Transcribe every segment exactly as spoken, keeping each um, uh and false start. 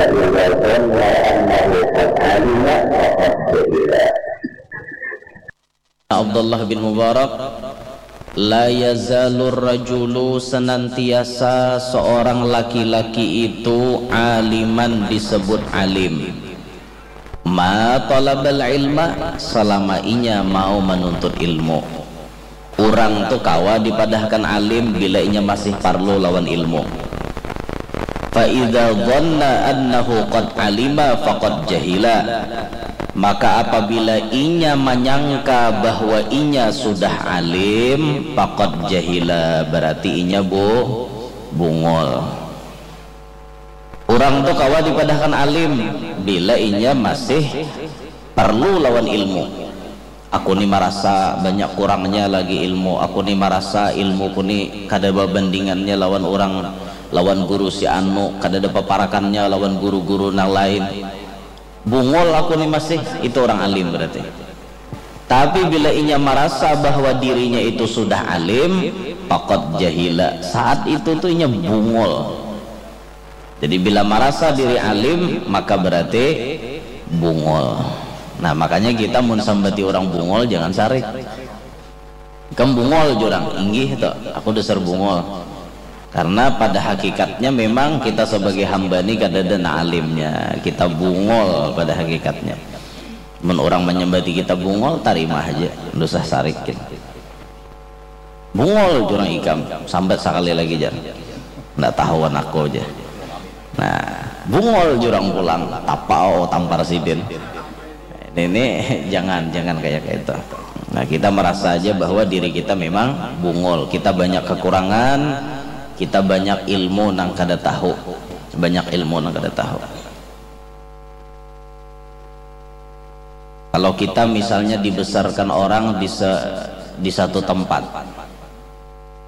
فإذا ظن أنه قد علم فقد جهل. Abdullah bin Mubarak, la yazalur rajulu, senantiasa seorang laki-laki itu, aliman, disebut alim, ma talabal ilma, selama inya mau menuntut ilmu. Urang tu kawa dipadahkan alim bila inya masih parlu lawan ilmu. Fa idza dhanna annahu qad alima faqad jahila. Maka apabila inya manyangka bahwa inya sudah alim, faqad jahila, berarti inya bu bungul. Urang tu kawa dipadahkan alim bila inya masih parlu lawan ilmu. Aku ni marasa banyak kurangnya lagi ilmu, aku ni marasa ilmuku ni kada babandingannya lawan urang, lawan guru si anu, kadada paparakannya lawan guru-guru nang lain. Bungul aku ni masih, itu urang alim berarti. Tapi bila inya marasa bahwa dirinya itu sudah alim, faqad jahila, saat itu tu inya bungul. Jadi bila marasa diri alim, maka berarti bungul. Nah, makanya kita mun sambati urang bungul, jangan sarik. Ikam bungul jar urang, inggih tu, aku dasar bungul. Karena pada hakikatnya memang kita sebagai hamba ni kadada nang alimnya, kita bungul pada hakikatnya. Mun urang manyambati kita bungul, tarima haja, kada usah sarik kita. Bungul jar urang ikam, sambat sakali lagi jar. Ndak tahuan aku jar. Nah, bungul jar urang pulang, tapau tampar sidin. Ini, ini jangan, jangan kaya kaitu. Nah, kita marasa haja bahwa diri kita memang bungul, kita banyak kekurangan, kita banyak ilmu nang kada tahu, banyak ilmu nang kada tahu. Kalau kita misalnya dibesarkan orang di se, di satu tempat,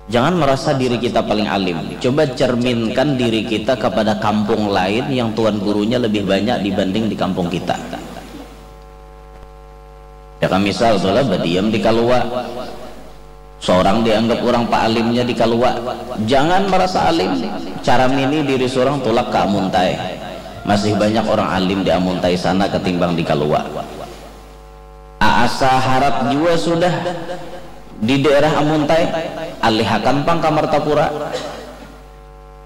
jangan merasa diri kita paling alim. Coba cerminkan diri kita kepada kampung lain yang tuan gurunya lebih banyak dibanding di kampung kita. Ya kan, misal tu lah, badiam di Kalua. Seorang dianggap urang paalimnya di Kalua. Jangan marasa alim. Caramini diri surang tulak ka Amuntai. Masih banyak orang alim di Amuntai sana ketimbang di Kalua. Asa harap jua sudah di daerah Amuntai, alihakan pang ka Martapura.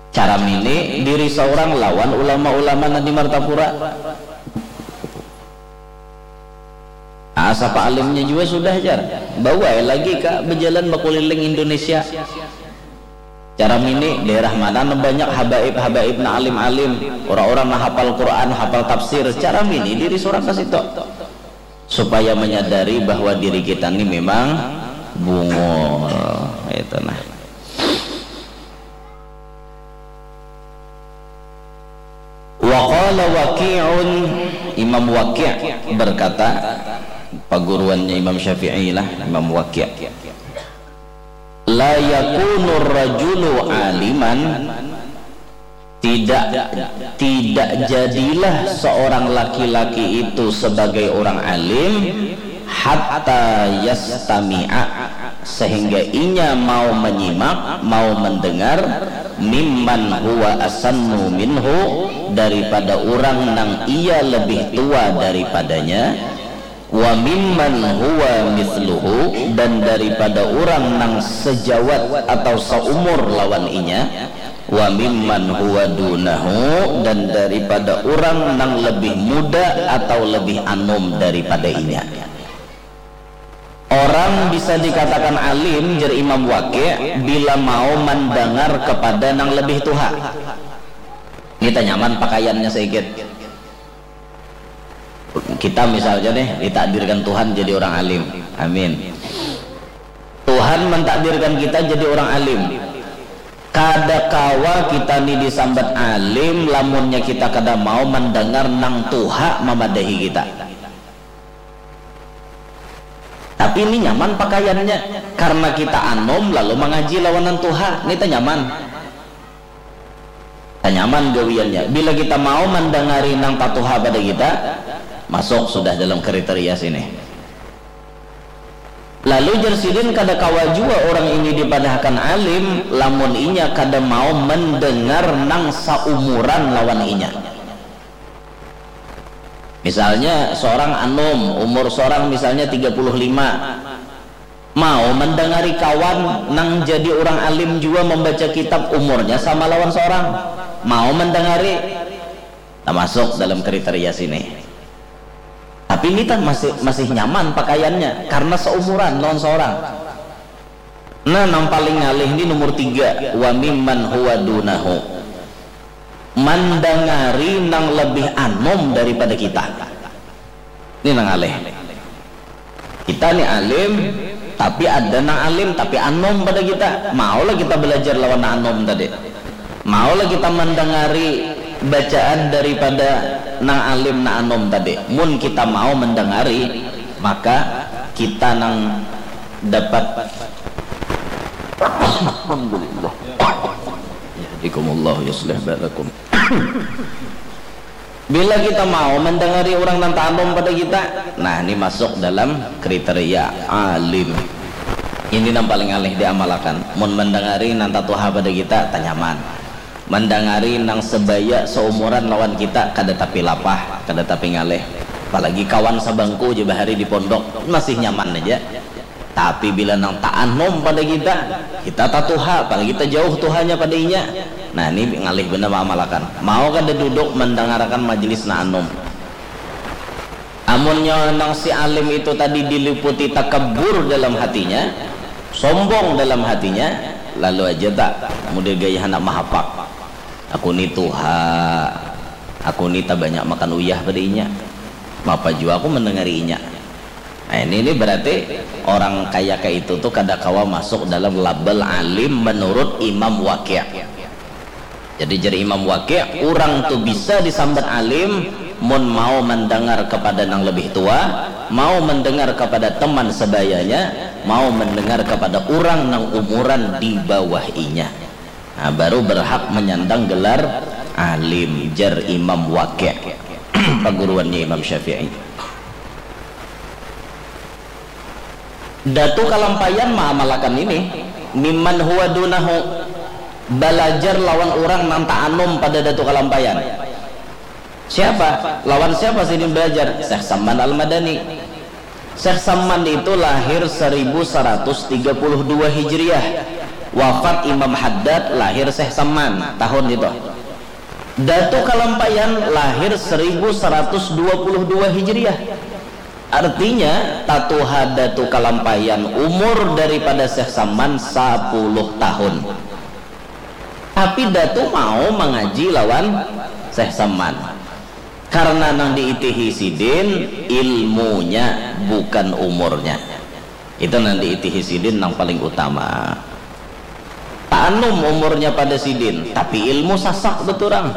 Caramini diri saurang lawan ulama-ulama nang di Martapura. Asa paalimnya jua sudah jar. Bawa ai lagi ka bajalan bakuliling Indonesia. Caramini daerah mana nang banyak habaib-habaib nang alim-alim, orang-orang nang hapal Quran, hapal tafsir, caramini diri surang ka situ. Supaya menyadari bahwa diri kita ni memang bungul. Itu nah. Wa qala Waqi'un, Imam Waqi' berkata, paguruannya Imam Syafi'i lah, Imam Waqi'. La yakunur rajulu aliman, tidak, tidak jadilah seorang laki-laki itu sebagai orang alim, hatta yastami'a, sehingga inya mau menyimak, mau mendengar, mimman huwa asannu minhu, daripada urang nang ia lebih tua daripadanya, wa mimman huwa mithluhu, dan daripada urang nang sejawat atau seumur lawan inya, wa mimman huwa dunahu, dan daripada urang nang lebih muda atau lebih anum daripada inya. Orang bisa dikatakan alim, jar Imam Waqi', bila mau mandangar kepada nang lebih tuha. Kita nyaman pakaiannya saikit. Kita misalnya nih, ditakdirkan Tuhan jadi orang alim. Amin. Tuhan mentakdirkan kita jadi orang alim. Kada kawa kita ni disambat alim lamunnya kita kada mau mandangar nang tuha mamadahi kita. Tapi ini nyaman pakaiannya, karena kita anum lalu mangaji lawan nang tuha, ini tanyaman. Tanyaman gawiannya. Bila kita mau mandangari nang tatuha pada kita, masuk sudah dalam kriteria sini. Lalu jar sidin, kada kawa jua orang ini dipadahkan alim lamun inya kada mau mendengar nang saumuran lawan inya. Misalnya seorang anum, umur seorang misalnya tiga puluh lima, mau mendengari kawan nang jadi urang alim jua membaca kitab, umurnya sama lawan seorang, mau mendengari, tamasuk dalam kriteria sini. Tapi ini kan masih, masih nyaman pakaiannya karena seumuran lawan seorang. Nah, nang paling ngalih ni nomor tiga, wa mimman huwa dunahu. Mandangari nang lebih anom daripada kita. Ini nang ngalih. Kita ni alim, tapi ada nang alim tapi anom pada kita. Maulah kita belajar lawan nang anom tadi. Maulah kita mandangari bacaan daripada nang alim nang anom tadi. Mun kita mau mandangari, maka kita nang dapat. Alhamdulillah. Yahdikumullah, yuslih balakum. Bila kita mau mendengari urang nang taanum pada kita, nah, ini masuk dalam kriteria alim. Ini nang paling ngalih diamalakan. Mun mendengari nang tatuha pada kita, tanyaman. Mendengari nang sebaya seumuran lawan kita, kada tapi lapah, kada tapi ngalih. Apalagi kawan sabangku ja bahari di pondok, masih nyaman aja. Tapi bila nang taanum pada kita, kita tatuha, apalagi tajauh tuhanya pada inya. Nah, ini ngalih banar maamalakan. Mau kada duduk mandangarakan majelis nang anum. Amunnya nang si alim itu tadi diliputi takabur dalam hatinya, sombong dalam hatinya, lalu aja tak, mudah gaya handak mahapak. Aku ni tuha, aku ni tabanyak makan uyah pada inya. Mapa jua aku mandangari inya. Nah, ini, ini berarti orang kaya kaya itu tuh kada kawa masuk dalam label alim menurut Imam Waqi'. Jadi, jar Imam Waqi', urang tu bisa disambat alim mun mau mandangar kapada nang lebih tua, mau mandangar kapada teman sabayanya, mau mandangar kapada urang nang umuran di bawah inya. Nah, baru berhak manyandang gelar alim, jar Imam Waqi', paguruannya Imam Syafi'i. Datu Kalampayan maamalakan ini, mimman huwa dunahu, balajar lawan urang nang taanum pada Datu Kalampayan. Siapa? Lawan siapa sidin balajar? Syekh Samman Al-Madani. Syekh Samman itu lahir seribu seratus tiga puluh dua Hijriah, wafat Imam Haddad, lahir Syekh Samman tahun itu. Datu Kalampayan lahir seribu seratus dua puluh dua Hijriah. Artinya, tatuha Datu Kalampayan umur daripada Syekh Samman sapuluh tahun. Tapi Datu mau mangaji lawan Syekh Samman. Karena nang diitihi sidin ilmunya, bukan umurnya. Itu nang diitihi sidin nang paling utama. Taanum umurnya pada sidin, tapi ilmu sasak beturang.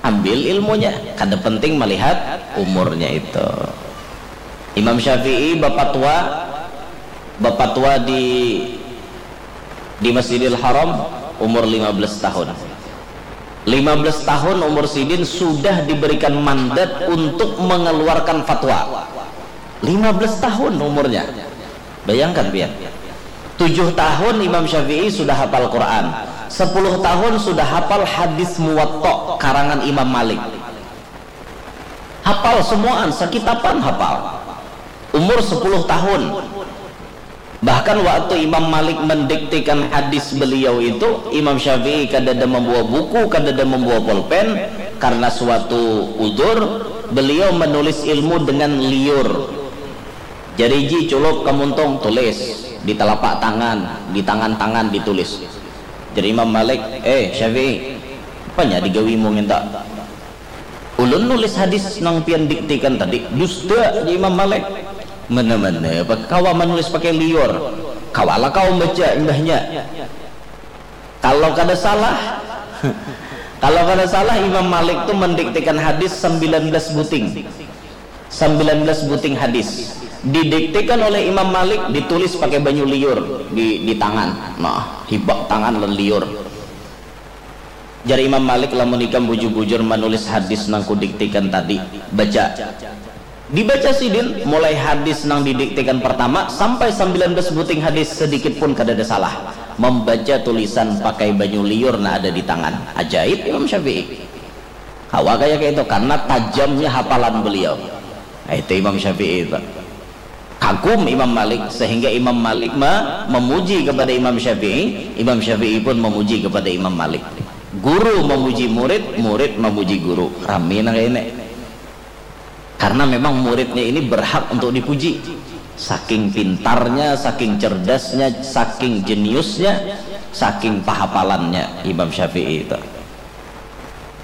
Ambil ilmunya, kada penting melihat umurnya itu. Imam Syafi'i bapatwa, bapatwa di, di Masjidil Haram umur lima belas tahun. Lima belas tahun umur sidin sudah diberikan mandat untuk mengeluarkan fatwa. Lima belas tahun umurnya. Bayangkan, pian. Tujuh tahun Imam Syafi'i sudah hafal Quran. Sepuluh tahun sudah hafal hadis Muwatta karangan Imam Malik. Hafal semuaan, sakitapan hafal. Umur sepuluh tahun. Bahkan waktu Imam Malik mendiktikan hadis beliau itu, Imam Syafi'i kadada membawa buku, kadada membawa pulpen, karena suatu udzur, beliau menulis ilmu dengan liur. Jari ji culup ka muntung, tulis di telapak tangan, di tangan-tangan ditulis. Jadi Imam Malik, "Eh, Syafi'i, apanya digawimu nginta?" "Ulun nulis hadis nang pian diktikan tadi." "Dusta," jar Imam Malik. "Mana-mana, kawa manulis pakai liur. Kawalah kau membaca imbahnya." Kalau kada salah, kalau kada salah, Imam Malik tu mendiktikan hadis sembilan belas buting. Sembilan belas buting hadis. Didiktikan oleh Imam Malik, ditulis pakai banyu liur di, di tangan. Nah, hibak tangan lan liur. Jar Imam Malik, "Lamun ikam bujur-bujur manulis hadis nang kudiktikan tadi, baca." Dibaca sidin, mulai hadis nang didiktikan pertama sampai sembilan belas buting hadis, sedikit pun kadada salah. Membaca tulisan pakai banyu liur nang ada di tangan. Ajaib Imam Syafi'i. Kawa kaya itu, karena tajamnya hafalan beliau. Itu Imam Syafi'i itu. Kagum Imam Malik, sehingga Imam Malik ma- memuji kepada Imam Syafi'i, Imam Syafi'i pun memuji kepada Imam Malik. Guru memuji murid, murid memuji guru. Rami nang ini. Karena memang muridnya ini berhak untuk dipuji. Saking pintarnya, saking cerdasnya, saking jeniusnya, saking pahapalannya Imam Syafi'i itu.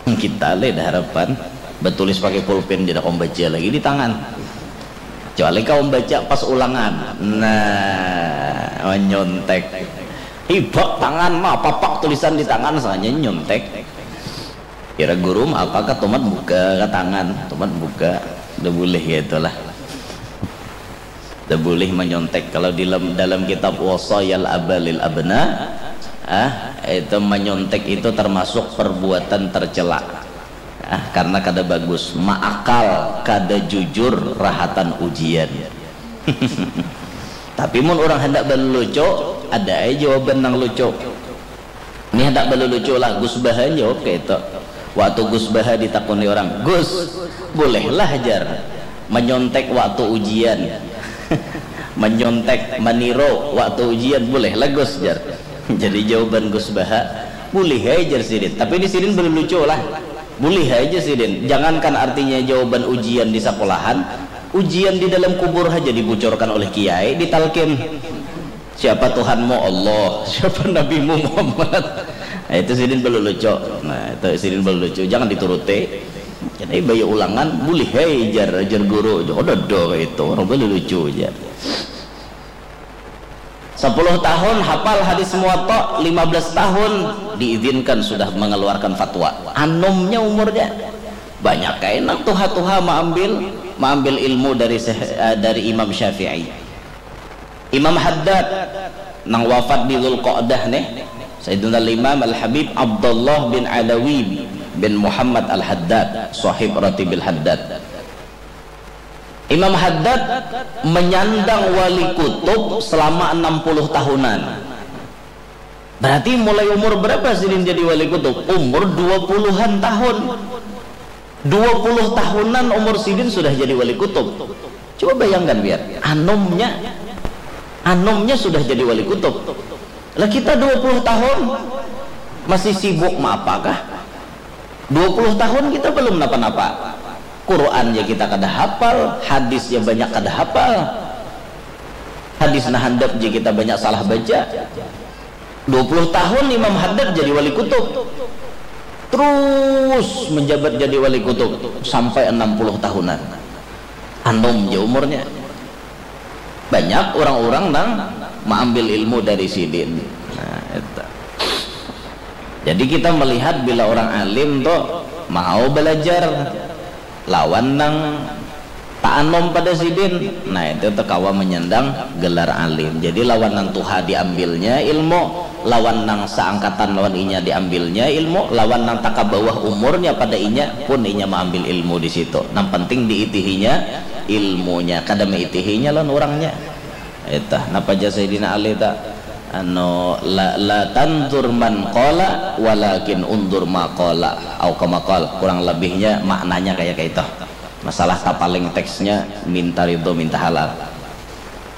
Kita le dah harapan batulis pakai pulpen, tidak membaca lagi di tangan. Kecuali kau membaca pas ulangan. Nah, menyontek. Hibak tangan mah, papak tulisan di tangan saja nyontek. Kira guru mah apa, katumat buka ke tangan, tumat buka. Udah boleh ya itulah. Udah boleh menyontek. Kalau di dalam, dalam kitab Wasayal Aba lil Abna, ah, itu menyontek itu termasuk perbuatan tercela. Ah, karena kada bagus, maakal, kada jujur, rahatan ujian. Tapi mun orang hendak berlucu, ada aja jawaban nang lucu. Ini hendak berlucu lah, Gus Baha jawab kayak itu. Waktu Gus Baha ditakuni orang, "Gus, bolehlah jar menyontek waktu ujian, menyontek meniru waktu ujian, bolehlah Gus jar." Jadi jawaban Gus Baha, "Boleh aja jar sidin." Tapi di sidin berlucu lah. Boleh aja sidin. Jangankan artinya jawaban ujian di sekolahan, ujian di dalam kubur aja dibucurkan oleh kiai, ditalkin. Siapa Tuhanmu? Allah. Siapa Nabimu? Muhammad. Nah, itu sidin berlucu. Nah, itu sidin berlucu. Jangan dituruti. Jadi bayi ulangan, boleh hei jar, jar guru. Jodoh do itu. Orang berlucu aja. Sepuluh tahun hafal hadis Muwatta, lima belas tahun diizinkan sudah mengeluarkan fatwa. Anumnya umurnya. Banyak kain nang tuha-tuha maambil, maambil ilmu dari Syekh- eh, dari Imam Syafi'i. Imam Haddad nang wafat di Dzulqa'dah nih, Sayyidina Imam Al-Habib Abdullah bin Alawi bin Muhammad Al-Haddad, sahib Ratibil Haddad. Imam Haddad menyandang Wali Kutub selama enam puluh tahunan. Berarti mulai umur berapa sidin jadi Wali Kutub? Umur dua puluhan tahun. Dua puluh tahunan umur sidin sudah jadi Wali Kutub. Coba bayangkan biar, anumnya, anumnya sudah jadi Wali Kutub. Lah kita dua puluh tahun masih sibuk ma apakah? Dua puluh tahun kita belum napa-napa. Quran ja kita kada hafal, hadis ja banyak kada hafal. Hadis nang handap ja kita banyak salah baca. Dua puluh tahun Imam Haddad jadi Wali Kutub. Terus menjabat jadi Wali Kutub sampai enam puluh tahunan. Anum ja umurnya. Banyak orang-orang nang maambil ilmu dari sidin. Nah, itu. Jadi kita melihat bila orang alim tu mau belajar lawan nang taanum pada sidin, nah itu tu kawa menyandang gelar alim. Jadi lawan nang tuha diambilnya ilmu, lawan nang seangkatan lawan inya diambilnya ilmu, lawan nang taka bawah umurnya pada inya pun inya maambil ilmu di situ. Nang penting diitihinya ilmunya, kada maitihinya lawan urangnya. Itu napa jar Sayyidina Ali ta? Anu, la, la tanzur man qala, walakin unzur ma qala, au kama qal. Kurang lebihnya maknanya kayak itu. Masalah tapaling teksnya minta ridho, minta halal.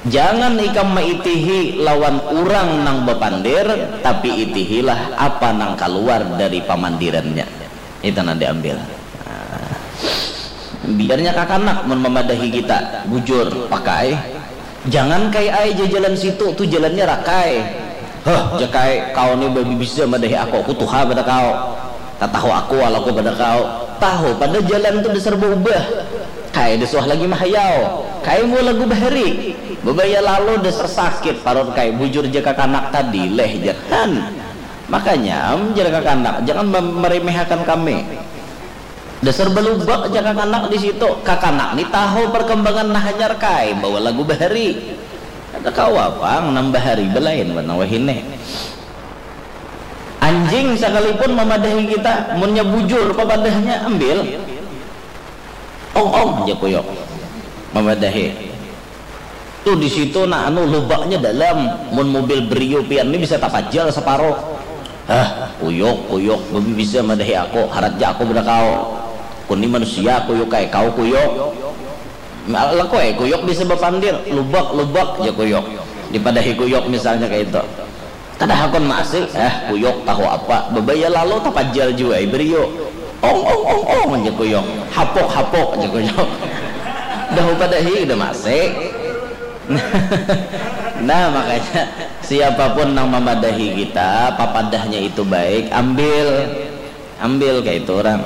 Jangan ikam maitihi lawan urang nang bapandir, tapi itihilah apa nang kaluar dari pamandirannya. Itu nang diambil. Nah, biarnya kakanak mun mamadahi kita, bujur, pakai. Jangan kai ai ja jalan situ, tu jalannya rakai. Heh, ja kai, kau ni babibisa madahi aku, aku tuha pada kau. Tatahu aku walaku pada kau. Tahu pada jalan tu dasar baubah. Kai da suah lagi mahayau. Kai mua lagu bahari. Babaya lalu dasar sakit parut kai, bujur ja kakanak tadi leh jar. Han. Makanya am jar kakanak, jangan mem- meremehakan kami. Dasar balubak ja kakanak di situ. Kakanak ni tahu perkembangan nang hanyar kai bawa lagu bahari. Kada kawa pang nang bahari balain wan nang wahini. Anjing sakalipun mamadahi kita, munnya bujur papadahnya, ambil. Ong ong ja kuyuk mamadahi. Tu di situ nah anu lubaknya dalam. Mun mobil Brio pian ni bisa tapajal saparo. Hah, kuyuk, kuyuk, babibisa madahi aku, harat ja aku pada kau. Aku ni manusia kuyuk ai, kau kuyuk. Laku ai kuyuk bisa bapandir, lubak, lubak, jar kuyuk. Dipadahi kuyuk misalnya kaya itu. Kada hakun maasi, eh, kuyuk tahu apa, babaya lalu tapajal jua ai bariu. Ong, ong, ong, ong, jar kuyuk. Hapuk, hapuk, jar kuyuk. Dah upadahi, kada maasi. Nah, makanya siapapun nang mamadahi kita, papadahnya itu baik, ambil. Ambil kaitu urang.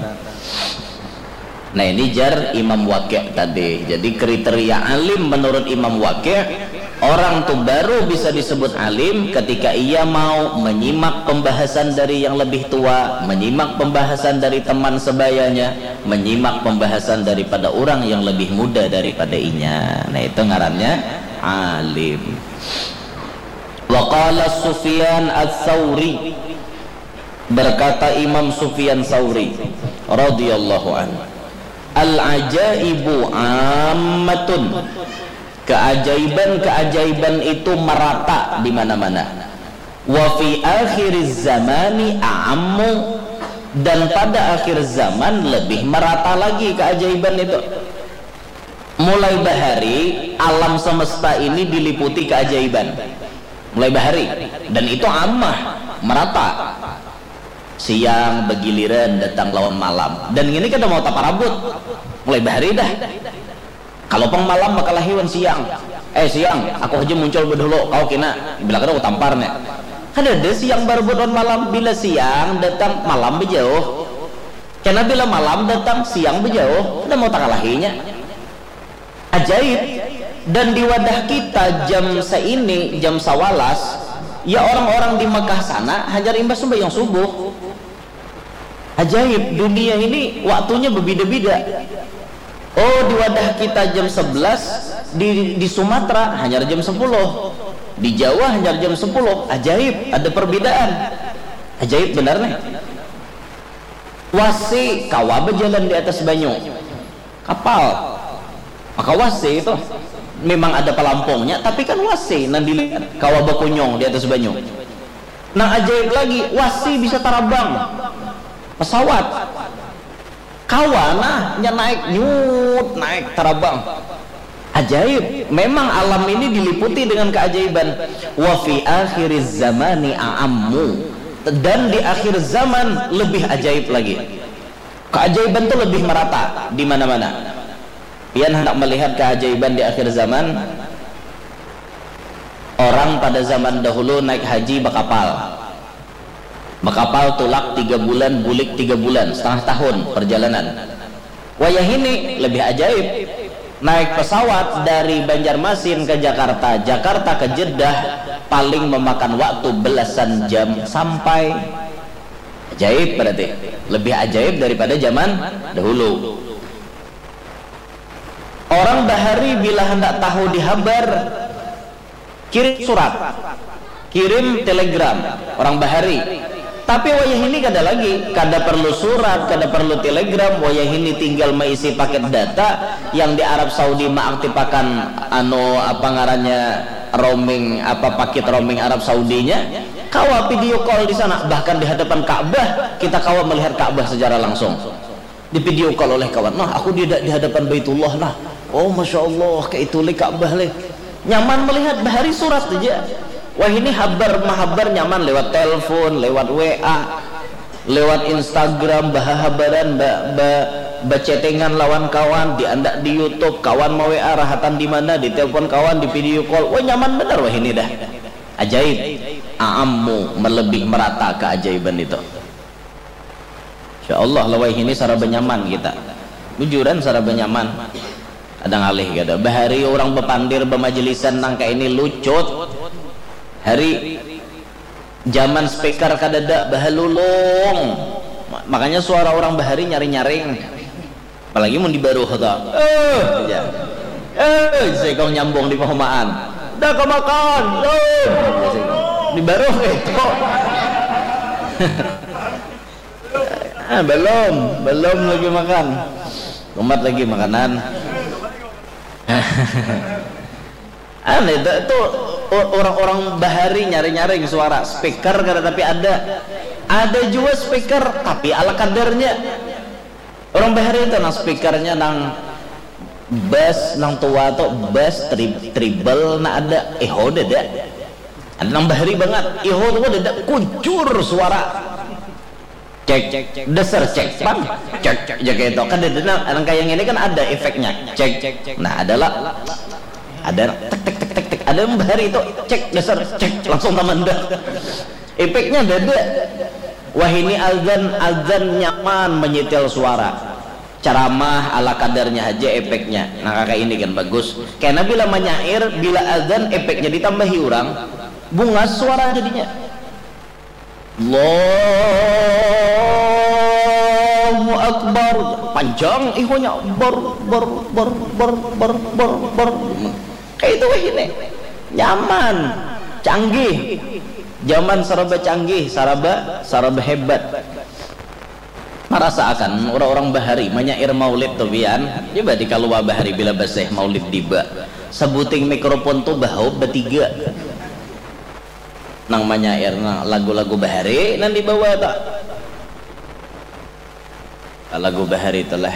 Nah, ini jar Imam Waqi' tadi. Jadi, kriteria alim menurut Imam Waqi', orang tu baru bisa disebut alim ketika ia mau menyimak pembahasan dari yang lebih tua, menyimak pembahasan dari teman sebayanya, menyimak pembahasan daripada orang yang lebih muda daripada inya. Nah, itu ngarannya alim. Wa qala Sufyan Ats-Tsauri, berkata Imam Sufyan Tsauri radhiyallahu anhu, "Al-ajaibu ammatun." Keajaiban-keajaiban itu merata di mana-mana. "Wa fi akhiriz zamani a'ammu." Dan pada akhir zaman lebih merata lagi keajaiban itu. Mulai bahari, alam semesta ini diliputi keajaiban. Mulai bahari. Dan itu amah, merata. Siang begiliran datang lawan malam. Dan ini kada mau taparabut. Mulai bahari dah. Kalau pang malam bakalahi wan siang. Eh, siang, aku haja muncul bedahulu, kau kina. Bila kada, aku tampar nih. Kada ada siang barebut wan malam. Bila siang datang, malam bejauh. Kena bila malam datang, siang bejauh. Kada mau takalahinya. Ajaib. Dan di wadah kita jam seini, jam sawalas, ya orang-orang di Mekah sana hanyar imbah sembahyang subuh. Ajaib, dunia ini waktunya berbeda-beda. Oh, di wadah kita jam sebelas, di, di Sumatera hanyar jam sepuluh. Di Jawa hanyar jam sepuluh. Ajaib, ada perbedaan. Ajaib benar nih. Wasi kawa berjalan di atas banyu. Kapal. Maka wasi itu memang ada pelampungnya, tapi kan wasi nang dilihat kawa bakunyung di atas banyu. Nang ajaib lagi, wasi bisa tarabang. Pesawat. Kawa nah, nya naik, nyut, naik, tarabang. Ajaib. Memang alam ini diliputi dengan keajaiban. Wa fi akhiriz zamani a'ammu. Dan di akhir zaman lebih ajaib lagi. Keajaiban tu lebih merata di mana-mana. Pian handak melihat keajaiban di akhir zaman? Orang pada zaman dahulu naik haji bakapal. Bakapal tulak tiga bulan, bulik tiga bulan, setengah tahun perjalanan. Wayahini lebih ajaib. Naik pesawat dari Banjarmasin ke Jakarta, Jakarta ke Jeddah, paling memakan waktu belasan jam sampai. Ajaib berarti. Lebih ajaib daripada zaman dahulu. Orang bahari bila handak tahu di habar, kirim surat, kirim telegram, orang bahari. Tapi wayahini kada lagi, kada perlu surat, kada perlu telegram, wayahini tinggal maisi paket data yang di Arab Saudi maaktipakan anu apa ngarannya roaming, apa paket roaming Arab Saudinya, kawa video call di sana, bahkan di hadapan Ka'bah kita kawa melihat Ka'bah secara langsung. Di video call oleh kawan, nah aku di, di hadapan Baitullah nah, oh masya Allah, kayak itu leh Ka'bah leh. Nyaman melihat bahari surat aja. Wah ini habar mahabar nyaman lewat telepon, lewat W A, lewat Instagram, bahahabaran, ba, ba, bachattingan lawan kawan, diandak di YouTube, kawan mau W A rahatan di mana, ditelepon kawan, di video call. Wah nyaman benar wah ini dah. Ajaib. Aammu, melebih merata keajaiban itu. Insya Allah lawai ini saraba nyaman kita. Bujuran saraba nyaman. Ada ngalih kada. Bahari orang bapandir bamajelisan nang kayak ini lucut. Hari zaman speaker kadada bahalulung. Ma- Makanya suara orang bahari nyaring-nyaring. Apalagi mun di baruh ta. Eh, aja. Eh, sekong nyambung di pahumaan. Dah kemakan. Lun. Di baruh itu. Ah, belum, belum lagi makan. Umat lagi makanan. Aneh, itu, itu orang-orang bahari nyari-nyaring suara speaker kada tapi ada. Ada juga speaker tapi ala kadarnya. Orang bahari itu nang speakernya nang Bass nang tua tu, bass tri-, treble na ada, iho dada. Ada nang bahari bangat, iho tu dada, kucur suara. Cek, dasar cek pang, cek, ja kaitu. Kan dada nang, nang kaya ngini kan ada efeknya. Cek, nah ada lah. Ada nang tek, tek, tek, tek, tek. Ada nang bahari tu, cek, dasar cek, langsung tamandak. Efeknya dada. Wahini azan, azan nyaman menyetel suara. Ceramah ala kadarnya haja efeknya. Nah, kaya ini kan bagus. Kena bila manyair, bila azan efeknya ditambahi urang, bungas suara jadinya. Allahu Akbar. Panjang ihonya. Ber, ber, ber, ber, ber, ber, ber. Kaya itu wahini. Nyaman. Canggih. Zaman saraba canggih, saraba, saraba hebat. Marasa akan urang-urang bahari manyair maulid tu pian. Coba dikalua bahari bila baseh maulid tiba. Sabuting mikrofon tu bahaup batiga. Nang manyair nang lagu-lagu bahari nang dibawa tu. Lagu bahari tu lah.